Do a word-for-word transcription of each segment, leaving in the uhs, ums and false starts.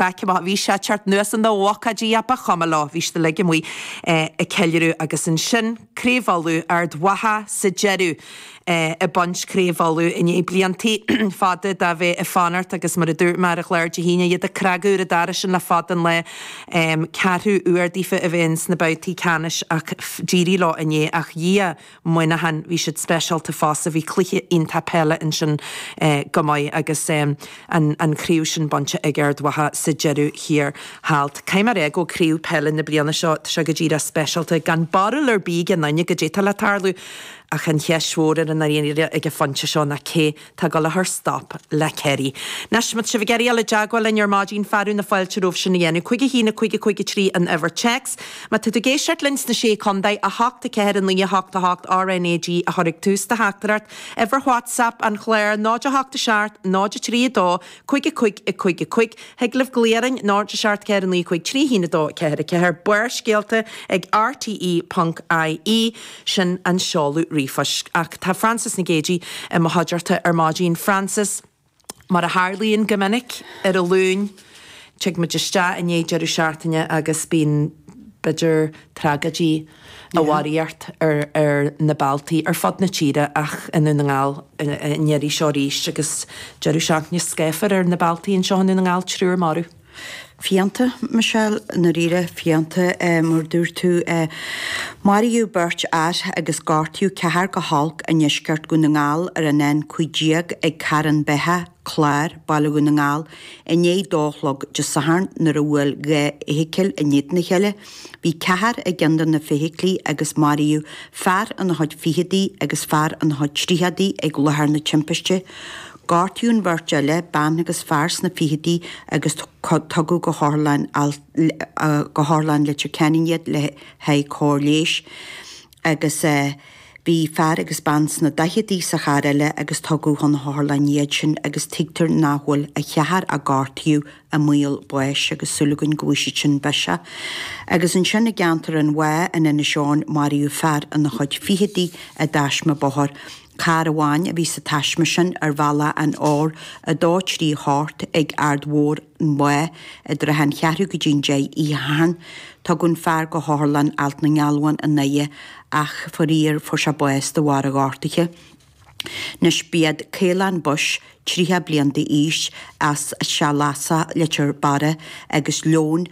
Amach bhí sé teacht anuas na bhocáidí a ba chuma leo, bhí siad uilig amuigh ag ceiliúradh agus ansin Craobh Uladh Ard Mhacha sa deireadh ag baint Craobh Uladh i ndiaidh blianta fada de bheith ag fanacht agus mar a dúirt mé ar an chlár Dé hAoine iad ag cnagadh ar an doras sin le fada an lá ceathrú uair daofa a bheith sna babhtaí ceannais ach d'éirigh leo inné ach Dhia Muineachán bhí siad speisialta fosta bhí cluiche iontach peile ansin go maith agus an an chraobh sin bainte ag Ard Mhacha sa deireadh thiar thall. Caithfidh mé a rá go craobh peile na bliana seo tá sé go díreach speisialta gan barúil ar bith ag aon duine goidé atá le tarlú ach an cheist mhór ar an éire ag an phointe seo ná cé tá ag dul a chur stop le Kerry. Anois má tá sibh ag iarraidh dul i dteagmháil linn ar maidin fearadh na fáilte romhaibh sin a dhéanamh. Cúig a haon a cúig a cúig a trí an uimhir téacs. Má tá tú ag éisteacht linn sna sé contae a hocht a ceathair a naoi a hocht a hocht RNAG a chur ag tús do theachtaireacht. Uimhir WhatsApp an chláir náid a hocht a seacht náid a trí a dó cúig a cúig a cúig a cúig. Thig libh glaoch orainn náid a seacht ceathair a naoi cúig trí haon a dó ceathair a ceathair. Barrscéalta ag RTE ponc IE sin an seoladh ríomhphoist. Ach tá Frances Nic Géadaigh i mo chuideachta ar maidin. Frances, mar a tharlaíonn go minic ar an Luan, tig muid isteach i ndiaidh deireadh seachtaine agus bíonn b'fhéidir tragóidí á mharaíocht ar ar na bealtaí ar fud na tíre ach i nDún na nGall an iarraidh seo arís agus deireadh seachtaine scáfar ar na bealtaí anseo i nDún na nGall triúr marbh. Fiánta, Michelle, ndáiríre, fiánta, mar dúirt tú. Maraíodh beirt fhear agus gortaíodh ceathrar go holc i ndeisceart Dhún na nGall ar an N cúig déag ag Carn Beithe, Clár, Baile Dhún na nGall, i ndiaidh a dó a chlog Dé Sathairn nuair a bhuail dhá fheithicil in éadan a chéile. Bhí ceathrar i gceann de na feithiclí agus maraíodh fear ina chuid ficheadaí agus fear ina chuid tríochadaí ag láthair na timpiste. Gortaíodh an bheirt eile, bean agus fear sna ficheadaí agus tugadh go hOtharlann go hOtharlann Leitir Ceanainn iad le haghaidh cóir leighis agus bhí fear agus bean sna daicheadaí sa charr eile agus tugadh chun na hotharlainne iad sin agus tuigtear nach bhfuil an ceathrar a gortaíodh i mbaol báis agus súil againn go bhfaighidh siad sin biseach. Agus ansin i gceantar an Bhá in Inis Eoghain maraíodh fear ina chuid ficheadaí i dtaisme bóthair. Carr amháin a bhí sa taisme sin ar bhealach an R a dó trí hocht ag Aird Mhór an Bhá i dtrátha an cheathrú go dtí an deich oíche Shathairn. Tugadh an fear go hOtharlann Alt na nGealbhán i nDoire ach faraor fuair sé bás de bharr a ghortuithe. Anois b'iad Caolán Bush, tríocha bliain d'aois, as Teach Lasa, Leitir Beara, agus Leon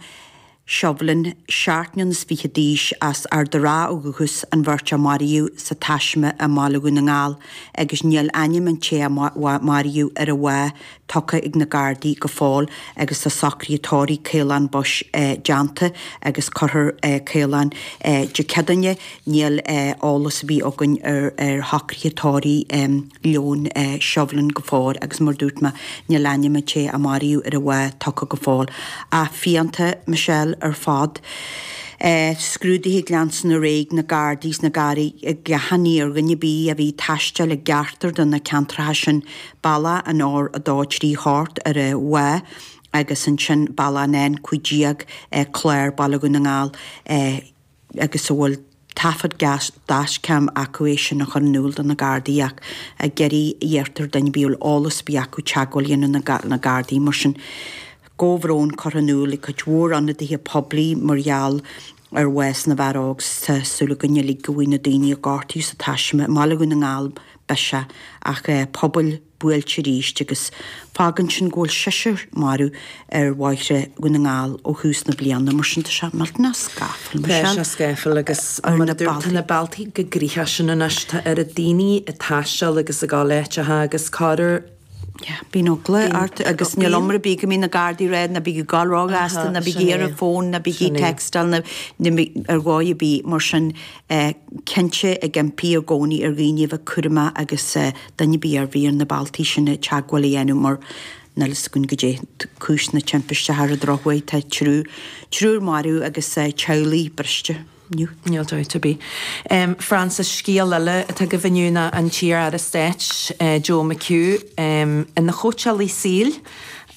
Shovlin, seacht mbliana is fiche d'aois, as Ard a' Rátha ó dhúchas, an bheirt a maraíodh sa taisme i mBaile Dhún na nGall agus níl ainm an té a maraíodh ar an Bhá tugtha ag na Gardaí go fóill agus tá socruithe tórraimh Caolán Bush déanta agus cuirfear Caolán Dé Céadaoine. Níl eolas ar bith againn ar shocruithe tórraimh Leon Shovlin go fóill agus mar dúirt mé níl ainm an té a maraíodh ar an Bhá tugtha go fóill. Ach fiánta, Michelle, ar fad. Scrúduithe ag leanstan ar aghaidh ag na Gardaí is na Gardaí ag achainí ar dhuine ar bith a bhí ag taisteal i gceachtar de na ceantracha sin, bealach an R a dó trí hocht ar an Bhá agus ansin bealach an N cúig déag, Clár, Baile Dhún na nGall, agus a bhfuil taifead dashcam acu é sin a chur in iúl do na Gardaí ach ag iarraidh iarrtar duine ar bith a bhfuil eolas ar bith acu teagmháil a dhéanamh na Gardaí mar sin. Comhbhrón curtha in iúl ag cuid mhór ionadaithe poiblí mar gheall ar bhás na bhfear óg 's tá súil againn uilig go bhfaighidh na daoine a gortaíodh sa taisme i mBaile Dhún na nGall biseach ach pobail buailte arís agus fágann sin go bhfuil seisear marbh ar bhóithre Dhún na nGall ó thús na bliana. Mar sin tá sé millteanach scáfal, Tá Michelle. sé scáfal agus Ar mar na a dúirt tá bealtaí. na bealtaí go gnoitheach sin anois tá oiread daoine ag taisteal agus ag gabháil áiteacha agus corruair Yeah, bíonn eagla Bíonn ort agus níl bíonn. iomrá ar bith go mbíonn na Gardaí ag rá ná bígí ag gabháil róghasta, Aha, ná bígí sin ar é. an bhfón, ná bígí Sin é. textáil, ná ná bí ar dhóigh ar bith mar sin eh, cinnte ag impí i gcónaí ar dhaoine a bheith cúramach agus eh, duine ar bith a bhí ar na bealtaí sin teagmháil a dhéanamh mar níl fhios againn goidé cúis na timpiste ar an drochuair tá triúr triúr marbh agus eh, teaghlaigh briste inniu. Níl dabht ar bith. Um, Frances scéal eile atá agaibh inniu ná an t-iar-aire stáit uh, Joe McHugh um, ina chóitseálaí saoil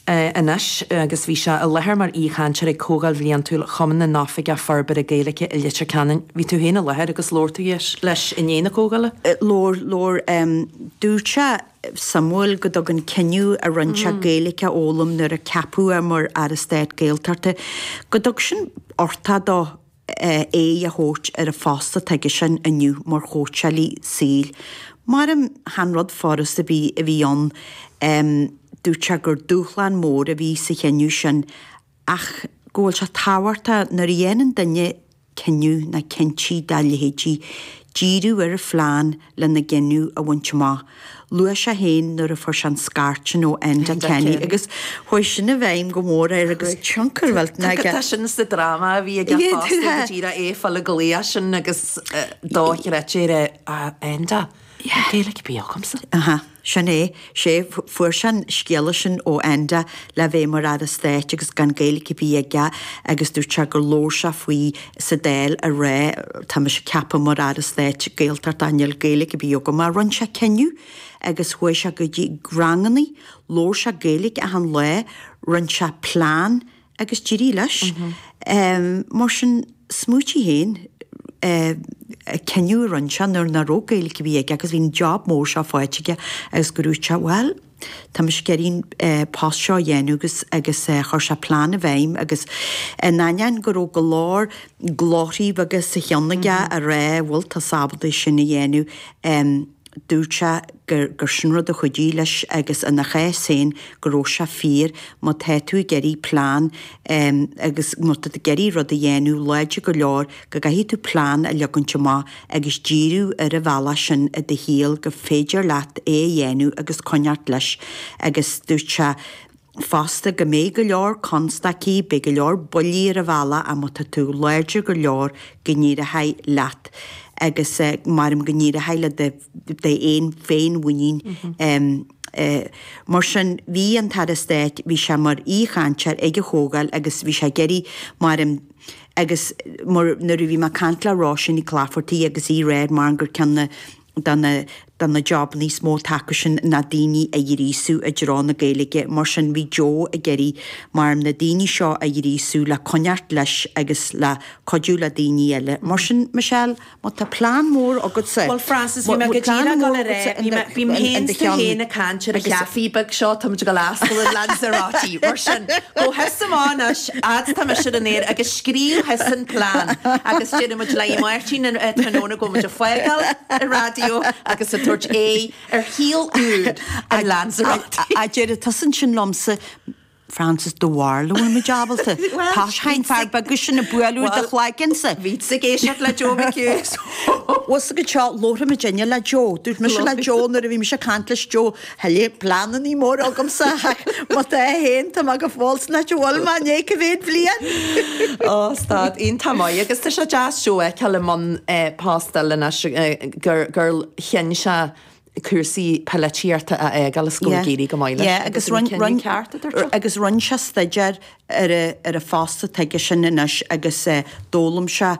uh, anois agus bhí sé i láthair mar aoichainteoir ag Comhdháil Bhliantúil Chumann na nOifigeach Forbartha Gaeilge i Leitir Ceanainn. Bhí tú féin i láthair agus labhair tú leis i ndiaidh na comhdhála? Labhair labhair um, dúirt sé suimiúil go dtug an cinneadh a rinne sé Gaeilge a fhoghlaim nuair a ceapadh é mar Aire Stáit Gaeltachta, go dtug sin uchtach dó aghaidh a thabhairt ar an phost atá aige sin inniu mar chóitseálaí saoil. Maram chan rud furast a bhí a bhí ann. Dúirt sé gur dúshlán mór a bhí sa chinneadh sin ach go bhfuil sé tábhachtach nuair a dhéanann duine cinneadh nó cinntí dá leithéidí, díriú ar an phlean lena gcinneadh a bhaint amach. Luaigh sé féin nuair a fuair sé an scairt sin ó Enda Kenny agus chuaigh sin i bhfeidhm go mór air agus tionchar mhillteanach aige. Tá sin sa dráma a bhí aige fosta go díreach é fáil an glaoch sin agus dochreidte ar Enda. Gaeilge ar bith agamsa. Aha, sin é. Sé, fuair sé an scéala sin ó Enda le bheith mar Aire Stáit agus gan Gaeilge ar bith aige agus dúirt sé gur labhair sé faoi sa Dáil a rá tá mise ceaptha mar Aire Stáit Gaeltachta níl Gaeilge ar bith agam. Ach rinne sé cinneadh agus chuaigh sé go dtí ranganna, labhair sé Gaeilge achan lá, rinne sé plean agus d'éirigh leis. Mar sin, smaoitigh féin, cinneadh a rinne sé nuair nach raibh Gaeilge ar bith aige agus bhí an job mór seo faighte aige agus go dúirt sé, bhuel, tá mise ag iarraidh an post seo a dhéanamh agus agus chuir sé plean i bhfeidhm agus in ainneoin go raibh go leor glórthaí beaga sa cheann aige a rá, bhfuil tusa ábalta sin a dhéanamh, dúirt sé gur gur sin rud a chuidigh leis agus ina chás féin go raibh sé fíor, má tá tú ag iarraidh plean agus má tá tú ag iarraidh rud a dhéanamh láidir go leor go gcaithfidh tú plean a leagaint amach agus díriú ar an bhealach sin i do shaol gur féidir leat é a dhéanamh agus coinneáilt leis agus dúirt sé fosta go mbeidh go leor constaicí, beidh go leor buillí ar an bhealach ach má tá tú láidir go leor go n-éireoidh leat agus maram go n-éireoidh le do d'aon féinmhuinín. Mar sin bhí an tAire Stáit, bhí sé mar aoichainteoir ag an chomhdháil agus bhí sé ag iarraidh maram agus mar nuair a bhí mé ag caint le Róisín Nic Laifeartaigh agus í ag rá mar gur ceann na de na de na jobanna is mó atá acu sin ná daoine a ghríosú i dtreo na Gaeilge. Mar sin bhí Joe ag iarraidh mar na daoine seo a ghríosú le coinneáilt leis agus le cuidiú le daoine eile. Mar sin, Michelle, má tá plean mór agatsa, Bhuel Frances, bhí mé go díreach ag dul a rá, bhí mé, bím féin 's tú féin ag caint ar an chaife beag seo, táimid ag dul a oscailt in Lanzarote. Mar sin, gabh thusa amach anois, fhad 's tá mise ar an aer agus scríobh thusa an plean agus déarfaidh muid le Máirtín tráthnóna go bhfuil muid ag fágáil an raidió agus ag tabhairt aghaidh ar shaol úr in Lanzarote. A déarfaidh tusa ansin liomsa, Frances do bharúil an bhfuil muid ábalta. Tá an fear beag sin ag bualadh do chloigeannsa. Bhí ag éisteacht le Joe McHugh. Was go seo labhair muidinne le Joe. Dúirt mise le Joe nuair a bhí mise ag caint leis Joe, Heile pleananna móra agamsa ach má tá féin tá mé go fóill san áit a bhfuil mé i ndiaidh cibé bliain. Ó stad iontach maith agus tá sé deas Joe a fheiceáil i mbun post eile anois gur gur chinn sé cúrsaí polaitíochta a fhágáil is go bhfuil ag éirí go maith leis. Yeah, agus Agus an rinne cinneadh rinne ceart a dúirt sé. agus rinne sé staidéar ar a ar a phost atá aige sin anois agus d'fhoghlaim sé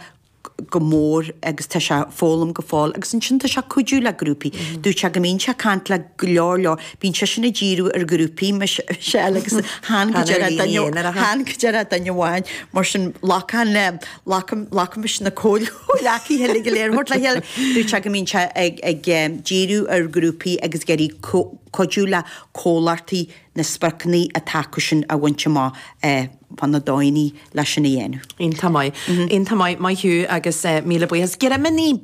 go mór agus tá sé ag foghlaim go fóill agus ansin tá sé ag cuidiú le grúpaí. Dúirt sé go mbíonn sé ag caint le go leor leor, bíonn seisean ag díriú ar ghrúpaí Michelle agus chan go Chan ar deireadh dhaoine duine aonaracha. chan go deireadh duine amháin mar sin glacann glacann glacaimis na comhghleacaithe uilig go léir a thabhairt le chéile. Dúirt sé go mbíonn sé ag ag díriú ar ghrúpaí agus ag iarraidh cuidiú le comhlachtaí na spriocanna atá acu sin a bhaint amach fá na dóigheanna leis sin a dhéanamh. Iontach maith. Iontach maith, maith thú agus míle buíochas. Greimíní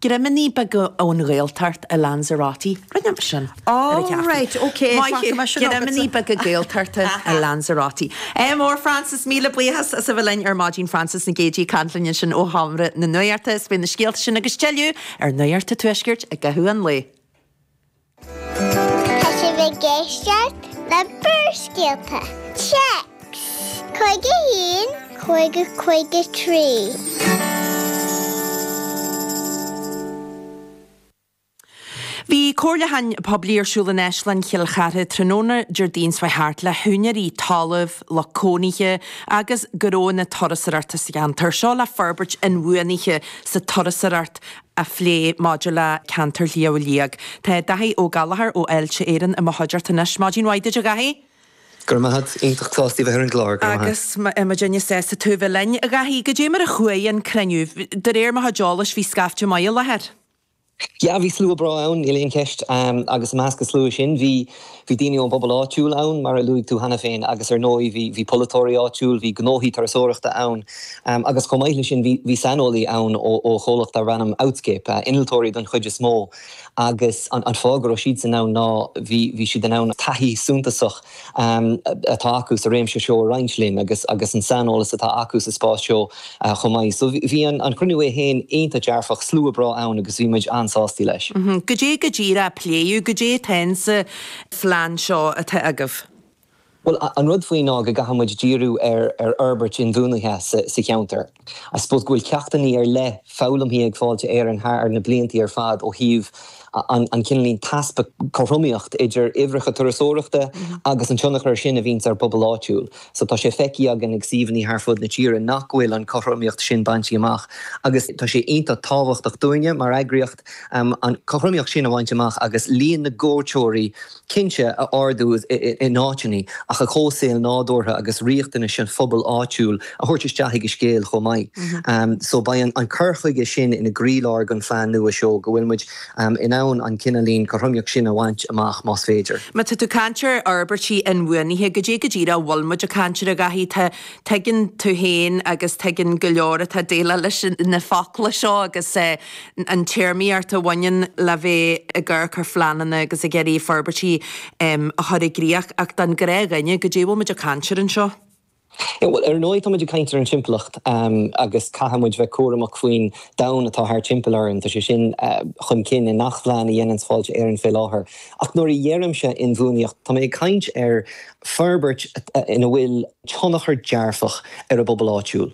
greimíní beaga ón Ghaeltacht i Lanzarote. Rinne mé sin ar an Oh cheafé. right, okay, Maith faca thú. mé sin Greimíní agatsa. beaga Gaeltachta i Lanzarote. Ádh mór Frances, míle buíochas as a bheith linn ar maidin Frances Nic Géadaigh ag caint linn ansin ó Sheomra na Nuachta. Is beidh na scéalta sin agus tuilleadh ar Nuacht an Tuaiscirt i gcaitheamh an lae. Tá sibh ag éisteacht le Barrscéalta. Téacs cúig a haon cúig a cúig a trí. Bhí comhairliúchán poiblí ar siúl in Áislann Chill Chartha tráthnóna Déardaoin seo thart le húinéirí talaimh, lucht cónaithe agus gnóanna turasóireachta sa cheantar seo le forbairt inbhuanaithe sa turasóireacht a phlé maidir le ceantar Shliabh Liag. Tá Daithí Ó Gallchóir ó Fháilte Éireann i mo chuideachta anois. Maidin mhaith duit a Dhaithí. Go raibh maith agat, iontach sásta bheith ar an gclár, go raibh maith agat. Agus muidinne sásta tú a bheith linn. A Dhaithí, goidé mar a chuaigh an cruinniú? De réir mo chuid eolais bhí scaifte maith i láthair. Yeah, bhí slua breá ann, níl aon cheist, agus i measc an slua sin bhí bhí daoine ón bpobal áitiúil ann, mar a luaigh tú cheana féin, agus ar ndóigh bhí bhí polaiteoirí áitiúil, bhí gnóthaí turasóireachta ann, agus chomh maith leis sin bhí bhí saineolaí ann ó ó chomhlacht darb ainm Outscape, innealtóirí don chuid is mó, agus an an fáth go raibh siadsan ann ná bhí bhí siad in ann taithí suntasach atá acu sa réimse seo a roinnt linn agus agus an saineolas atá acu sa spás seo chomh maith. So bhí an an cruinniú é féin iontach dearfach, slua breá ann agus bhí muid an-sásta leis. Goidé go díreach a pléadh, goidé atá insa phlean seo atá agaibh? Bhuel, an rud faoi ná go gcaithfidh muid díriú ar ar fhorbairt inbhuanaithe sa sa cheantar. I suppose go bhfuil ceachtanna ar leith foghlamtha ag Fáilte Éireann thar na blianta ar fad ó thaobh an an cineál easpa cothromaíocht idir uimhreacha turasóireachta agus an tionchar sin a bhíonns ar phobal áitiúil. So tá sé feicthe againn ag suíomhanna thar fud na tíre nach bhfuil an cothromaíocht sin bainte amach agus tá sé iontach tábhachtach dúinne mar eagraíocht um, an cothromaíocht sin a bhaint amach agus líon na gcuairteoirí cinnte a ardú in áiteanna ach an comhshaol nádúrtha agus riachtanais an phobail áitiúil a thabhairt isteach ag an scéal chomh maith. Um, so beidh an, an cur chuige sin ina gcroílár den phlean nua seo go bhfuil muid um, in ann an cineál cothromaíocht sin a bhaint amach más féidir. Má tá tú ag caint ar fhorbairtí inbhuanaithe, goidé go díreach a bhfuil muid ag caint air a Dhaithí, tá tuigeann tú féin agus tuigeann go leor atá ag déileáil leis na focla seo agus eh, an téarmaíocht a bhaineann le bheith ag amharc ar phleananna agus ag iarraidh forbairtí a chur i gcrích ach don ghnáthdhuine, goidé a bhfuil muid ag caint air anseo. Bhuel, ar ndóigh tá muid ag caint ar an timpeallacht agus caithfidh muid bheith cúramach faoin domhan atá thart timpeall orainn. Tá sé sin chun cinn i ngach plean a dhéanann Fáilte Éireann fé láthair. Ach nuair a dheirimse inbhuanaíocht, tá mé ag caint ar forbairt ina bhfuil tionchar dearfach ar an bpobal áitiúil.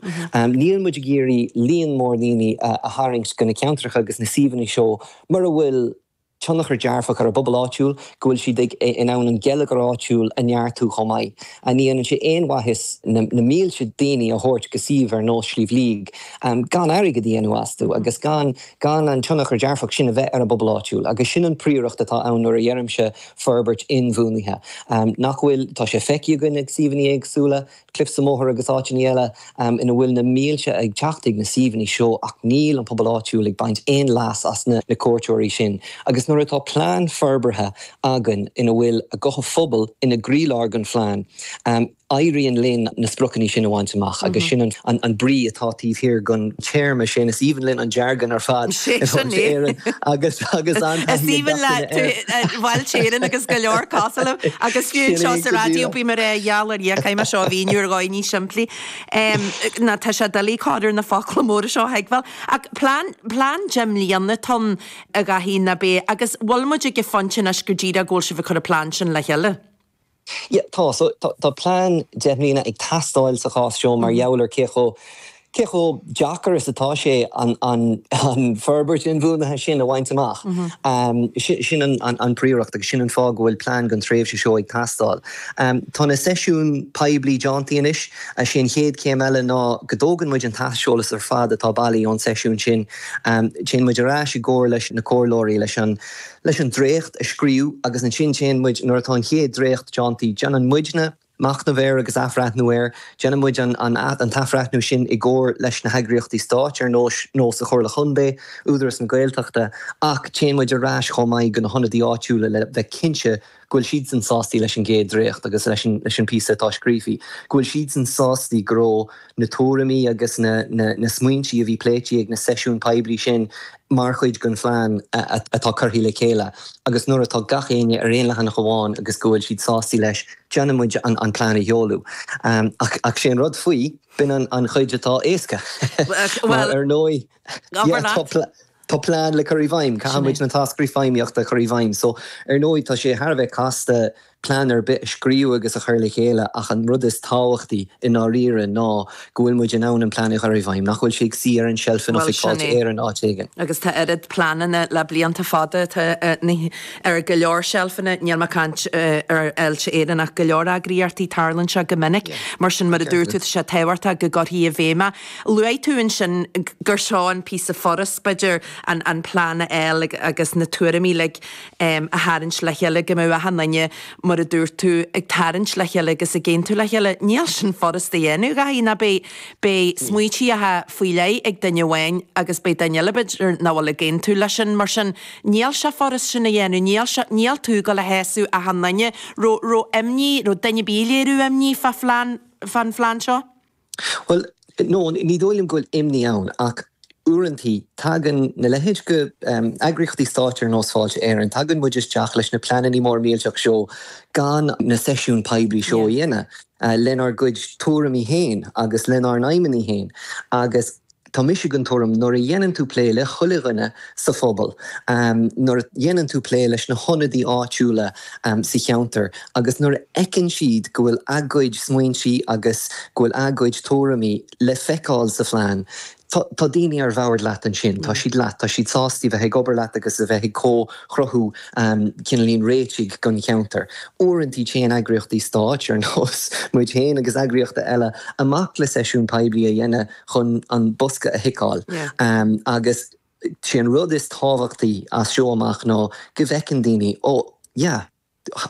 Níl muid ag iarraidh líon mór daoine a tharraingt go na ceantracha agus na suíomhanna seo mura bhfuil tionchar dearfach ar an bpobal áitiúil, go bhfuil siad ag in ann an geilleagar áitiúil a neartú chomh maith. Ní dhéanann sé aon mhaitheas na mílte daoine a thabhairt go suíomh ar nós Sliabh Liag gan airgead a dhéanamh astu agus gan gan an tionchar dearfach sin a bheith ar an bpobal áitiúil. Agus sin an príoracht atá ann nuair a dheirimse forbairt inbhuanaithe. Nach bhfuil, tá sé feicthe againn ag suíomhanna éagsúla, Cliffs of Moher agus áiteanna eile ina bhfuil na mílte ag teacht ag na suíomhanna seo ach níl an pobal áitiúil ag baint aon leas as na cuairteoirí sin. Agus nuair atá plean forbartha againn ina bhfuil a guth an phobail ina gcroílár den phlean, éiríonn linn na spriocanna sin a bhaint amach agus sin an an brí atá taobh thiar den téarma sin. Is aoibhinn linn an jargon ar fad Éireann agus agus an Is aoibhinn le Fáilte Éireann agus go leor cosúil leo agus fiú anseo sa raidió bím ag rá gheall ar Dhia caithfidh mé seo a mhíniú ar dhóigh níos simplí. Ná tá sé doiligh cur ar na focla móra seo a thuigbheáil. Ach plean plean deich mbliana atá ann a Dhaithí nach ea agus bhfuil muid ag an phointe anois go díreach go bhfuil sibh ag cur an plean sin le chéile? Yeah, tá. So tá tá plean deich mbliana ag teastáil sa chás seo mar gheall ar cé chomh cé chomh deacair is atá sé an an an forbairt inbhuanaithe sin a bhaint amach. Um, sin an an an príoracht agus sin an fáth go bhfuil plean don tréimhse seo ag teastáil. Um, tá na seisiúin poiblí déanta anois, sé an chéad chéim eile ná go dtógann muid an t-aiseolas ar fad atá bailithe ón seisiún sin. Um, téann muid ar ais i gcomhar leis na comhairleoirí leis an leis an dréacht a scríobh agus ansin téann muid nuair atá an chéad dréacht déanta, déanann muidne machnamh air agus athbhreithniú air, déanann muid an an an t-athbhreithniú sin i gcomhar leis na heagraíochtaí stáit ar nós nós an Chomhairle Chontae, Údarás na Gaeltachta, ach téann muid ar ais chomh maith go na hionadaithe áitiúla le bheith cinnte go bhfuil siadsan sásta leis an gcéad dréacht agus leis an leis an píosa atá scríofa, go bhfuil siadsan sásta go raibh na tuairimí agus na na na smaointe a bhí pléite ag na seisiúin poiblí sin mar chuid den phlean atá curtha le chéile agus nuair atá gach éinne ar aon leathanach amháin agus go bhfuil siad sásta leis, déanann muid an an plean a sheoladh. Ach ach sé an rud faoi, b'in an an chuid atá éasca. Mar ar ndóigh, tá plean le cur i bhfeidhm, caithfidh muid na táscairí feidhmíochta a chur i bhfeidhm. So, ar ndóigh, tá sé thar a bheith casta plean ar bith a scríobh agus a chur le chéile ach an rud is tábhachtaí i ndáiríre ná go bhfuil muid in ann an plean a chur i bhfeidhm, nach bhfuil sé ag suí ar an tseilf in Oifig Fáilte Éireann áit éigin. Agus tá oiread pleananna le blianta fada atá ar go leor seilfeanna, níl mé ag caint ar Fháilte Éireann ach go leor eagraíochtaí, tarlaíonn sé go minic. Mar sin, mar a dúirt tú, tá sé tábhachtach go gcuirfí i bhfeidhm é. Luaigh tú ansin gur seo an píosa furast, b'fhéidir, an an plean a fháil agus na tuairimí uilig a tharraingt le chéile, go mbeadh achan duine mar a dúirt tú, ag tarraingt le chéile agus ag aontú le chéile. Níl sin furast a dhéanamh, a Dhaithí, ná beidh, beidh smaoitíocha faoi leith ag duine amháin agus beidh duine eile b'fhéidir nach bhfuil ag aontú leis sin. Mar sin, níl sé furast sin a dhéanamh, níl sé, níl tú ag dul a shásamh achan duine. Raibh, raibh imní, raibh duine ar bith ag léiriú imní fá phlean, fán phlean seo? Bhuel, no, ní dóigh liom go bhfuil imní ann ach uaireantaí tagann na leithéid de eagraíochtaí stáit ar nós Fáilte Éireann, tagann muid isteach leis na pleananna mór millteach seo gan na seisiúin poiblí seo a dhéanamh lenár gcuid tuairimí féin agus lenár n-aidhmeanna féin agus tá mise den tuairim nuair a dhéanann tú plé le chuile dhuine sa phobal, nuair a dhéanann tú plé leis na hionadaí áitiúla sa cheantar agus nuair a fheiceann siad go bhfuil a gcuid smaointe agus go bhfuil a gcuid tuairimí le feiceáil sa phlean, tá tá daoine ar bhord leat ansin, tá siad leat, tá siad sásta a bheith ag obair leat agus a bheith ag comhchruthú cineáilín réitigh don cheantar. Uaireantaí téann eagraíochtaí stáit ar nós muid féin agus eagraíochtaí eile amach le seisiún poiblí a dhéanamh chun an bosca a thiceáil agus sé an rud is tábhachtaí as seo amach ná go bhfeiceann daoine, oh yeah,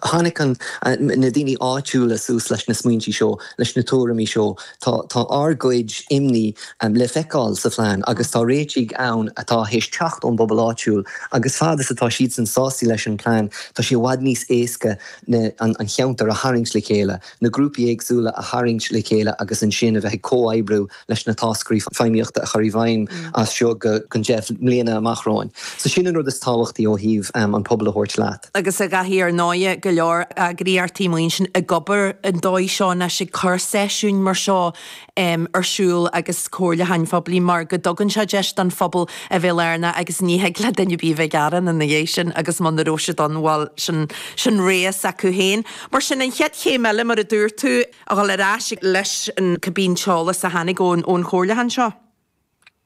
tháinig an, na daoine áitiúla suas leis na smaointe seo, leis na tuairimí seo. Tá, tá ár gcuid imní le feiceáil sa phlean agus tá réitigh ann atá théis teacht ón bpobal áitiúil agus fad is atá siadsan sásta leis an bplean, tá sé i bhfad níos éasca na, an, an cheantar a tharraingt le chéile, na grúpaí éagsúla a tharraingt le chéile agus ansin a bheith ag comhoibriú leis na táscairí feidhmíochta a chur i bhfeidhm as seo go ceann deich mbliana amach romhainn. So sin an rud is tábhachtaí ó thaobh an pobal a thabhairt leat. Agus a Dhaithí, ar ndóighe, go leor eagraíochtaí mar sin ag obair an dóigh seo anois, ag cur seisiúin mar seo ar siúl agus comhairliúcháin phoiblí mar go dtugann sé deis don phobal a bheith lárnach agus ní thig le duine ar bith a bheith ag gearán ina dhiaidh sin agus muna raibh siad ann, bhuel, sin, sin rogha s'acu féin. Mar sin, an chéad chéim eile, mar a dúirt tú, a dhul ar ais leis an cibé an t-eolas a tháinig ón ón chomhairliúchán seo.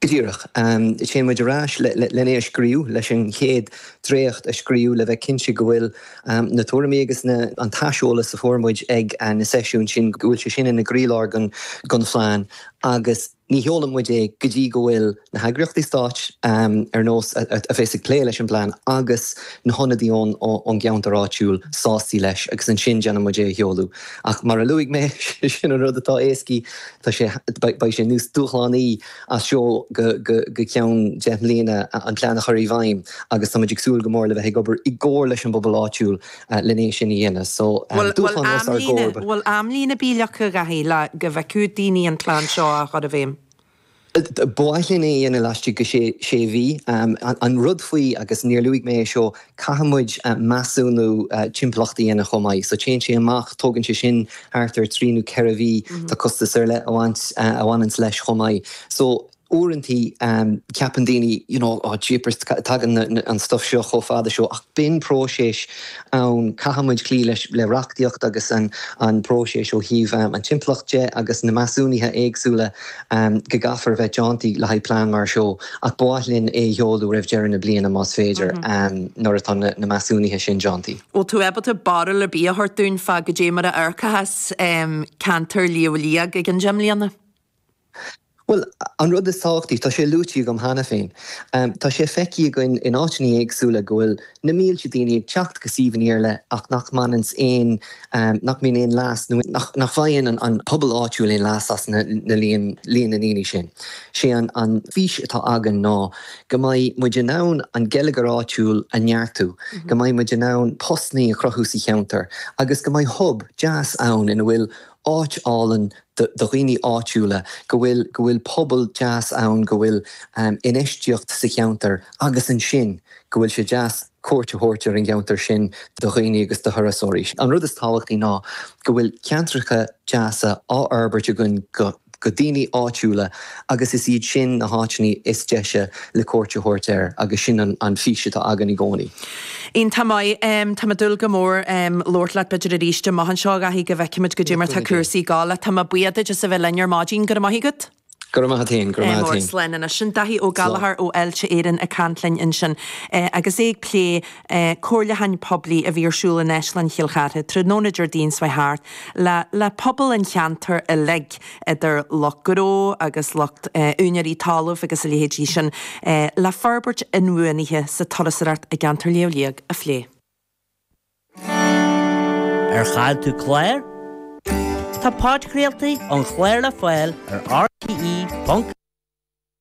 Go díreach. Téann muid ar ais len é a scríobh, leis an chéad dréacht a scríobh le bheith cinnte go bhfuil na tuairimí agus na an t-aiseolas a fuair muid ag na seisiúin sin, go bhfuil sé sin ina gcroílár den phlean agus ní sheolann muid é go dtí go bhfuil na heagraíochtaí stáit ar nós a bheas ag plé leis an bplean agus na hionadaí ón gceantar áitiúil sásta leis agus ansin déanann muid é a sheoladh. Ach mar a luaigh mé, sin an rud atá éascaí, tá sé, beidh sé níos dúshlánaí as seo go go ceann deich mbliana an plean a chur i bhfeidhm agus tá muid ag súil go mór le bheith ag obair i gcomhar leis an bpobal áitiúil len é sin a dhéanamh. So, dúshlán os ár gcomhair. Bhfuil amlíne ar bith leagtha, a Dhaithí, le go bhfeicfeadh daoine an plean seo á chur i bhfeidhm? Ba mhaith linn é a dhéanamh laistigh de sé mhí. An rud faoi, agus níor luaigh mé é seo, caithfidh muid measúnú timpeallachta a dhéanamh chomh maith. So téann sé amach, tógann sé sin thart ar trí nó ceithre mhí, tá costas ar leith a bhaint, a bhaineanns leis chomh maith. So uaireantaí ceapann daoine, you know, oh jeepers, tagann an stuff seo chomh fada seo, ach bíonn próiseas ann, caithfidh muid cloí leis, le reachtaíocht agus an an próiseas ó thaobh an timpeallacht de agus na measúnuithe éagsúla go gcaithfear a bheith déanta le haghaidh plean mar seo ach ba mhaith linn é a sheoladh roimh deireadh na bliana más féidir nuair atá na measúnuithe sin déanta. Bhfuil tú ábalta barúil ar bith a thabhairt dúinn fá goidé mar a amharcfas ceantar Shliabh Liag i gceann deich mbliana? Bhuel, an rud is tábhachtaí, tá sé luaite agam cheana féin, tá sé feicthe againn in áiteanna éagsúla go bhfuil na mílte daoine ag teacht go suíomhanna ar leith ach nach mbaineanns aon, nach mbíonn aon leas nó nach bhfaigheann an pobal áitiúil aon leas as na líon, líon na ndaoine sin. Sé an an fhís atá againn ná go mbeidh muid in ann an geilleagar áitiúil a neartú, go mbeidh muid in ann postannaí a chruthú sa cheantar agus go mbeidh hub deas ann ina bhfuil áit álainn do dhaoine áitiúla, go bhfuil, go bhfuil pobal deas ann, go bhfuil infheistíocht sa cheantar agus ansin go bhfuil sé deas cuairt a thabhairt ar an gceantar sin do dhaoine agus do thurasóirí. An rud is tábhachtaí ná go bhfuil ceantracha deasa á fhorbairt againn go go daoine áitiúla agus is iad sin na háiteanna is deise le cuairt a thabhairt air agus sin an fís atá againn i gcónaí. Iontach maith. Tá mé ag dúil go mór labhairt leat b'fhéidir arís amach anseo, a Dhaithí, go bhfeicfimid goidé mar tá cúrsaí ag gabháil. Tá mé buíoch duit as a bheith linn ar maidin. Go raibh maith agat. Go raibh maith agat féin. Go raibh maith agat féin. Slán anois. Sin Daithí Ó Gallchóir ó Fháilte Éireann ag caint linn ansin agus é ag plé comhairliúcháin poiblí a bhí ar siúl in Áislann Chill Chartha tráthnóna Déardaoin seo thart le le pobal an cheantair uilig, idir lucht gnó agus lucht úinéirí talaimh agus a leithéidí sin, le forbairt inbhuanaithe sa turasóireacht i gceantar Shliabh Liag a phlé. Ar chaill tú clár? Tá podchraoltaí an chláir le fáil ar RTE ponc